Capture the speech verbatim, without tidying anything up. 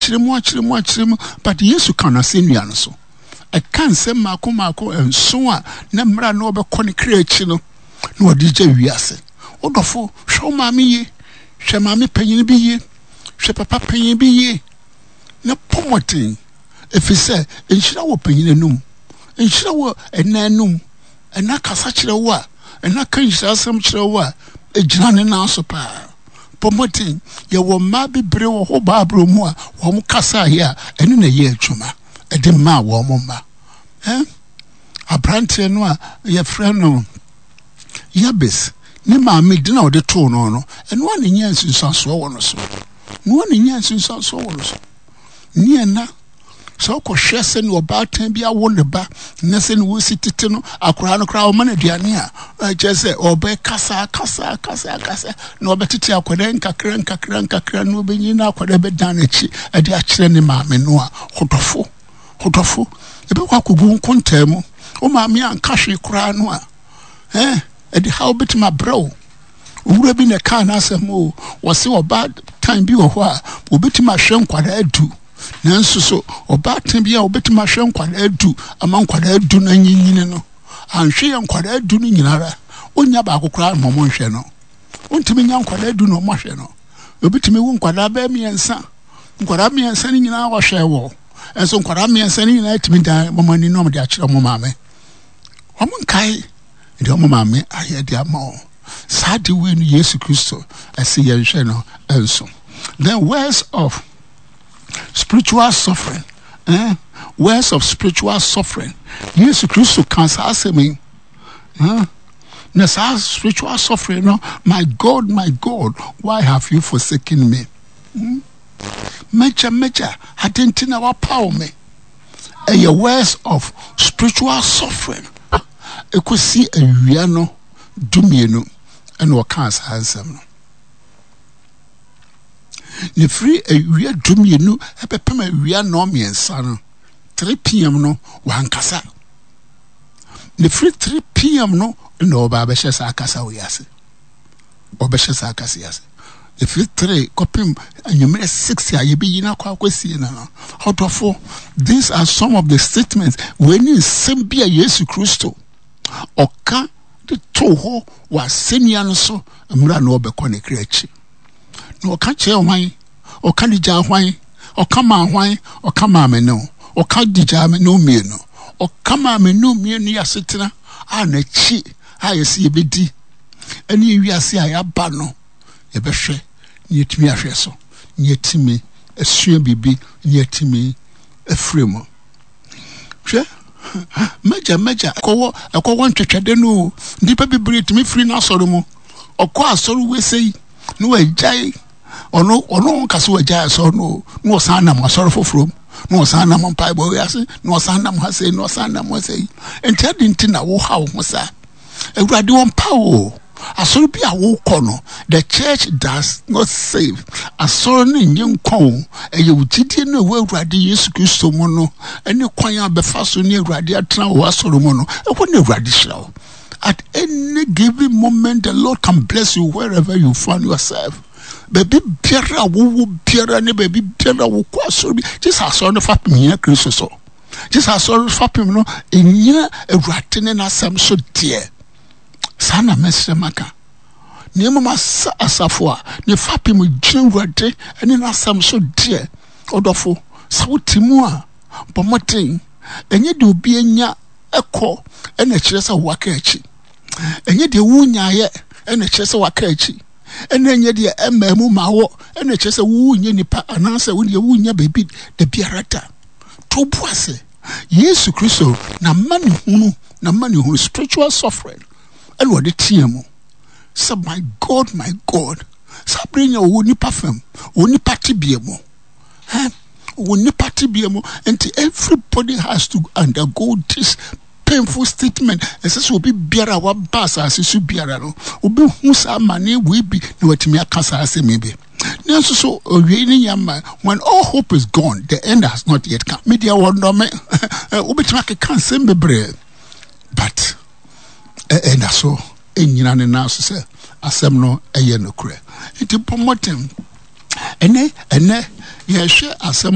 Akyerɛ mu, akyerɛ mu, akyerɛ mu, but Yesu ka no asɛnnua no so. Ɛka nsɛm mmaako mmaako nson a na mmerɛ a na ɔbɛkɔ ne kra akyi no na ɔde gya wiase. Wo dɔfo, hwɛ wo maame yie, hwɛ maame panyin bi yie, hwɛ papa panyin bi yie, na bɔ mmɔden, ɛfiri sɛ nhyira wɔ panyin anum, nhyira wɔ ɛna anum. Ɛna kasa kyerɛ wo a, ɛna ka nhyira asɛm kyerɛ wo a, ɛgyina ne nan so paa. Bɔ mmɔden. Yɛwɔ mmaa bebree wɔ hɔ Bible mu a wɔn kasaeɛ a ɛno na ɛyɛ adwuma ɛde maa wɔn mma. Eh? Aberanteɛ no a yɛfrɛ no Yabes ne maame din a ɔde too no no, ɛno a na ɛnya nsunsuansoɔ wɔ no so. Ɛno a na ɛnya nsunsuansoɔ wɔ no so. Ne ɛna sɛ wokɔhwɛ sɛnea ɔbaatan bi awo ne ba na sɛnea wɔsi tete no akwaraa no koraa ɔma no aduane a ɛkyerɛ sɛ ɔbɛkasa kasa kasa kasa na ɔbɛtete akwadaa nkakra nkakra nkakra na ɔbɛnyin na akwadaa bɛdan n'akyi ɛde akyerɛ ne maame no a hodɔfo hodɔfo ɛbɛkɔ akɔgu nkontaa mu. Wo maame anka hwee koraa no a ɛɛ ɛde haw bɛtumi abrɛ wo. Owura bi na ɛkaa n'asɛm o, wɔse ɔbaatan bi wɔ hɔ a obetumi ahwɛ nkwadaa du, nanso so ɔbaatan bi a obetumi ahwɛ nkwadaa du ama nkwadaa du no anyinyini no, anhwɛ yɛ nkwadaa du no nyinara, onnya baako koraa ma ɔmo nhwɛ no. Ontumi nya nkwadaa du na ɔmo ahwɛ no. Obetumi wo nkwadaa bɛyɛ mmiɛnsa, nkwadaa mmiɛnsa no nyinaa wɔhwɛ wɔ, nso nkwadaa mmiɛnsa no nyinaa tumi dan wɔn ani na wɔn de akyerɛ wɔn maame. Wɔn nkae deɛ wɔn maame ayɛ de ama wɔn. Saa de wei no Yesu Kristo ɛsɛ yɛnhwɛ no nso. Then words of spiritual suffering. Eh? Words of spiritual suffering. Yesu Kristo ka saa asɛm yi. Eh? Na saa spiritual suffering no, my God, my God, why have you forsaken me? Hmm? Mɛgya, mɛgya, ade nti na wapaw me. Ɛyɛ words of spiritual suffering. Ekosi awia no dumienu ɛna ɔkaa saa nsɛm no. Na ɛfiri awia dumienu ɛbɛpem awia nnɔn mmiɛnsa no, three p m no, wankasa. Na ɛfiri three p m no na ɔba abɛhyɛ saa kasa wei ase. Ɔbɛhyɛ saa kasa yi ase. Ɛfiri three kɔpem anwummerɛ six a yɛbɛyi no akɔ akɔsie no no. Ɔdɔfo, these are some of the statements. Wei ne nsɛm bi a Yesu Kristo ɔka de too hɔ wɔ asɛnnua no so mmerɛ a na ɔbɛkɔ ne kra akyi. Na ɔka kyerɛ hwan? Ɔka de gyaa hwan? Ɔka maa hwan? Ɔka maa me ne wo. Ɔka de gyaa me ne wo mmienu. Ɔka maa me ne wo mmienu yɛ asetena a n'akyi a yɛsɛ yɛbɛdi ɛne wiase a yɛaba no yɛbɛhwɛ na yɛtumi ahwɛ so na yɛtumi asua biribi na yɛtumi afiri mu. Hwɛ, mɛgya mɛgya ɛkɔwɔ ɛkɔwɔ ntwetwɛde no o. Nnipa bebree tumi firi n'asɔre mu. Ɔkɔ asɔre wesei na wagyae. Ɔno ɔno nka so wagyae asɔre no o. Na ɔsan nam asɔre foforɔ mu. Na ɔsan nam mpaebɔ wei ase. Na ɔsan nam ha sei na ɔsan nam ha sei. Nti adi nti na woha wo ho saa. Awurade ɔmpa wo o. Asɔre bi a wokɔ no, the church does not save. Asɔre no nye nkwa o. Ɛyɛ wo gyidie no ɛwɔ Awurade Yesu Kristo mu no, ɛne kwan a bɛfa so ne Awurade atena wɔ asɔre mu no, ɛhɔ na Awurade hyira wo. At any given moment, the Lord can bless you wherever you find yourself. Baabi biara a wowɔ biara ne baabi biara a wokɔ asɔre bi, gye sɛ asɔre no fapem nyina Kristo so. Gye sɛ asɔre fapem no ɛnyina Awurade ne n'asɛm so deɛ. Saa na mɛsrɛ maka. Na mmom asa asafo a ne fapem gyina Awurade ne n'asɛm so deɛ, ɔdɔfo, sɛ wote mu a, bɔ mmɔden. Ɛnyɛ deɛ obi anya ɛkɔ ɛna ɛkyerɛ sɛ waka akyi. Ɛnyɛ deɛ wonyaeɛ ɛna ɛkyerɛ sɛ waka akyi. Ɛna ɛnyɛ deɛ ɛmmaa mu ma wɔ ɛna ɛkyerɛ sɛ wonyɛ nipa anaasɛ wodeɛ wonya baabi da biara da. To bo ase. Yesu Kristo n'amanehunu, n'amanehunu, spiritual suffering, ɛna ɔde teɛ mu sɛ my God, my God. Saa bere nyɛ ɔwɔ nipa fam, ɔwɔ nipa tebea mu. Eh, ɔwɔ nipa tebea mu. Nti everybody has to undergo this painful statement. Ɛsɛ sɛ obi biara a waba asase so biara no, obehu saa amane wei bi na watumi aka saa asɛm yi bi. Nanso so owie ne yɛ ma when all hope is gone, the end has not yet come. Me deɛ wɔnnɔ me. Wobɛtumi akeka nsɛm bebree, but ɛda so ɛnyina ne nan so sɛ asɛm no ɛyɛ nokorɛ. Nti bɔ mmɔden. Ɛnɛ ɛnɛ yɛhwɛ asɛm